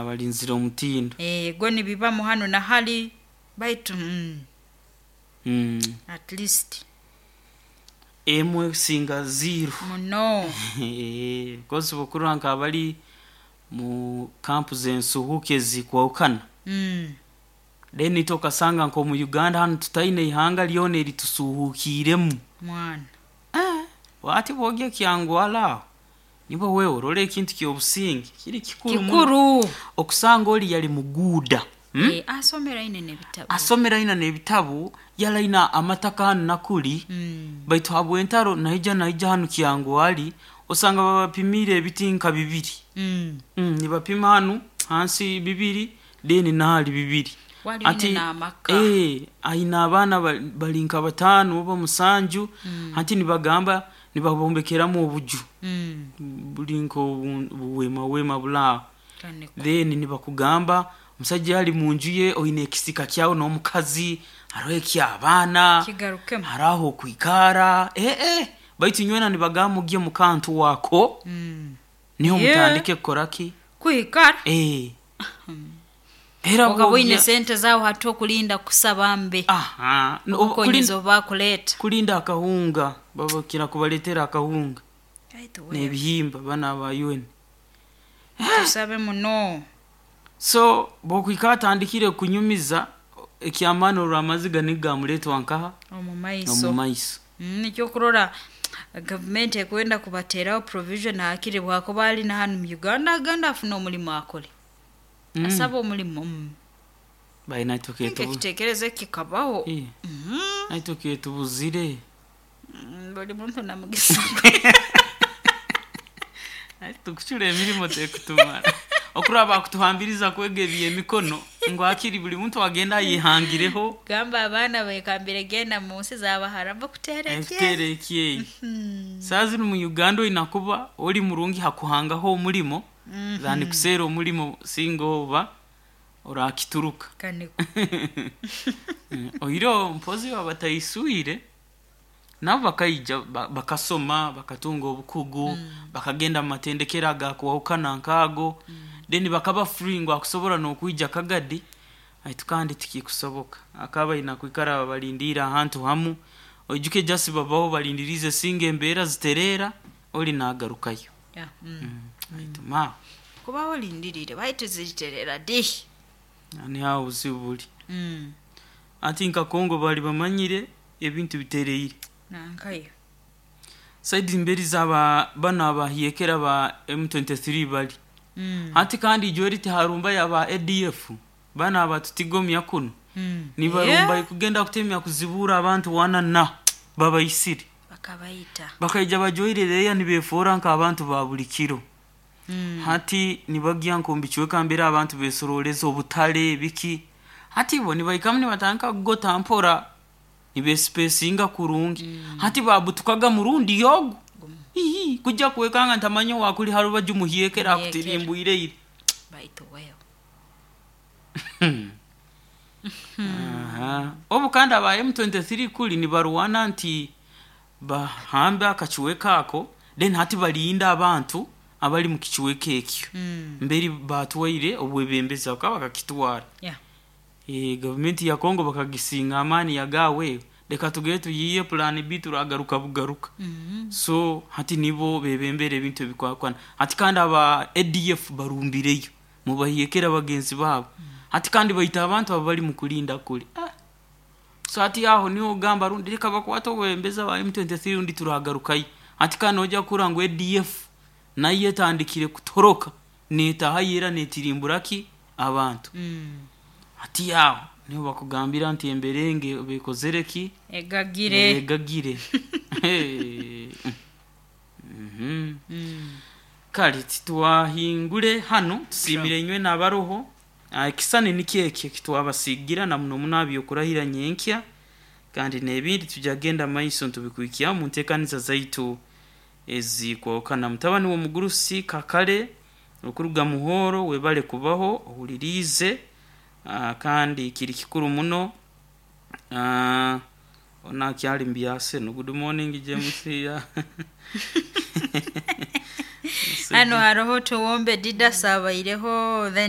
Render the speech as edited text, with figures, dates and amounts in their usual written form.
Balinzire omutindo. Go nibibamu hanu na hali baitu at least Emwe kusinga zero. Muno. Kozi bokurora nk'abali mu kampu z'ensuhuuki ezikwahukana, then itwe okasanga nk'omu Uganda hanu tutaine ihanga lyona eritusuuhuukiiremu. Mwana. Hati bwogya Kyangwali aho, nibwo wewe orora ekintu ky'obusinge kiri kikuru muno. Kikuru. Okusanga oli yali muguuda, Asomere aine n'ebitabu. Asomere aina n'ebitabu, yali aina amataka hanu na kuli, baitu habw'entaro naija hanu Kyangwali, osanga babapimiire ebiti nka bibiri. Nibapima hanu hansi bibiri, then nahali bibiri. Wali oine n'amaka. Aine abaana bali nka bataano oba musanju, hati nibagamba nibabombekeramu obuju, buli nk'obuweema weema buli aho. Then nibakugamba omusaija ali munju ye oine ekisiika kyawe n'omukazi, haroho eky'abaana, Kigarukemu. haroho ah'okwikara, baitu inywena nibagamba mugye mu kantu ako, niho mutandike kukora ki? Kwikara. Era Okaba oine bwogya sente zaawe hati okulinda kusaba mbe. Aha, Obukonyezi obu bakuleeta. Kulinda akahunga, babakira kubaleetera akahunga Baitu wewe. n'ebihimba banu aba UN. Tusabe muno. So bwokwikara atandikire kunyumiza eky'amaani orora amaziga nigo gamuleetwa nkaha? Omu maiso. Omu maiso. Nikyo okurora gavumenti ekwenda kubateeraho provision hakiri bwakuba ali na hanu mu Uganda agende afune omulimo akole. Asabe omulimo. Bai naitwe Ninka ekiteekerezo kikabaho. Naitwe ketubuzire. Buli muntu na mugisa gwe. Tukucura emirimo tekutumara. Okurora bakutuhambiriza kwega eby'emikono ngu hakiri buli muntu agende ayehangireho. Gamba abaana beekambire genda mu nsi z'Abaharabu kuteera ekyeyo. Kuteera ekyeyo. Saaha zinu mu Uganda oina kuba ori murungi hakuhangaho omulimo, than kuseera omulimo singa oba orakituruka. Kaniko. Oihireho mpozi abataiswire, nabo bakaija bakasoma, bakatunga obukugu, bakagenda mu matendekero agakwahukana nk'ago, then bakaba free ngu akusobora n'okwija Kagadi, baitu kandi tikikusoboka. Akaba aina kwikara babalindiire ahantu hamu, oijuke just babaho balindiriize singa embeera zitereera, oli naagarukayo. Baitu maawe. Kuba olindiriire baitu ziritereera di? Niho aho obuzibu buri. Hati nka Congo bari bamanyire ebintu bitereire. Nankayo. Saidi mberi zaba banu abahyekera ba M23 bari. Hati kandi ijweri tiharumbayo aba ADF, banu abatutigomya kunu. Nibarumbayo kugenda kutemya kuzibuura abantu wana na babaisire. Bakabaita. Bakaija bajwaire reeya nibeefoora nk'abantu ba buli kiro. Hati nibagya nk'omu bicweka mbere abantu beesorooleza obutale biki. Hati bo nibahikamu nibatandika kugota mpora, nibeesipeesinga kurungi. Hati baabutukaga murundi ogu, ii kujja kwekanga ntamanya owaakuli ha rubaju muhyekera akutirimbwire ira. Baitu wewe. Aha. Obu kandi aba M23 kuli nibarwana nti bahambe akacweka ako, then hati balinda abantu abali mu kicweka ekyo. Mberi baatwaire obwebembezi bakaba bakakitwara. Gavumenti ya Congo bakagisinga amaani yagaawe, reka tugende tuyiiye plan B turagaruka bugaruka. So hati nibo beebembera ebintu ebikwahukana. Hati kandi aba ADF barumbireyo, mubahyekera bagenzi baabo. Hati kandi baita abantu ababali mu kulinda kuli. So hati aho niho ogamba rundi reka bakwate obwebembezi aba M23 rundi turagarukayo. Hati kandi noija kuhurra ngu ADF nayo etandikire kutoroka, neetaahayo era neetirimbura ki? Abantu. Hati aho niho bakugambira nti emberenge beekozere ki? Egagire. Egagire. Kale titwahingure hanu, tusiimire inywe n'abaroho. Ekisani nikyo eki ekitwabasiigira na muno muno aha by'okurahira nyenkya, kandi n'ebindi tujya kugenda maiso nitubikuhikyaho mu nteekaniza zaitu ezikwahukana. Mutabani w'omugurusi Kakare okuruga Muhooro webale kubaho ohuliriize, kandi kiri kikuru muno. Onu akyali mu byaseno. Good morning James. Hanu haroho Tuwombe Didas abaireho then.